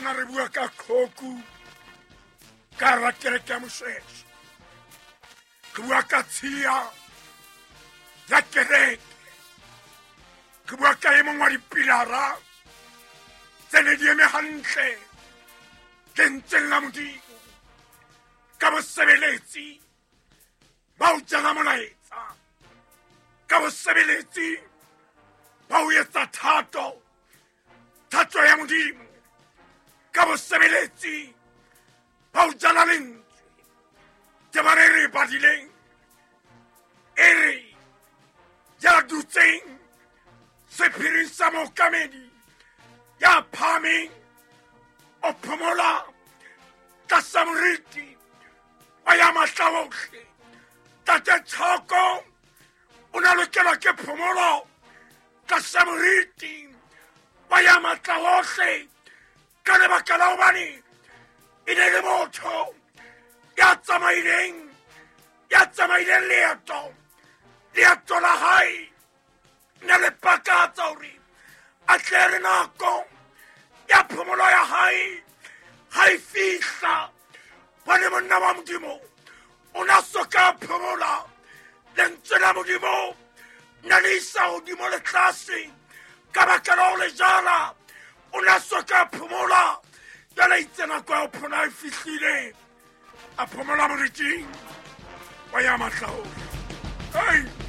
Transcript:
Mona re bua ka qhoku ka hara kereke ya Moshweshwe. Re bua ka tshiya ya kereke. Re bua ka e mong wa dipilara tse ne di eme hantle lentsweng la Modimo ka bosebeletsi ba ho jala molaetsa, ka bosebeletsi ba ho etsa thato, thato ya Modimo, ka bosebeletsi ba ho jala lentswe. Temana e re e badileng e re ya dutseng sephiring sa mookamedi ya phahameng o phomola tlasa moriti wa ya matla ohle. Tate Tshoko o na lokelwa ke phomolo tlasa moriti wa ya matla ohle ka lebaka la hobane e ne le motho ya tsamaileng, ya tsamaileng leeto, leeto la hae ne le pakatsa hore a tle re nako ya phomolo ya hae ha e fihla. Bone monna wa Modimo o na soka phomola, lentswe la Modimo ne le isa hodimo le tlase ka baka la ho le jala. O na soka phomola, jwale itse nako ya ho phomola e fihlile, a phomola moriting wa ya matla ohle. Hey!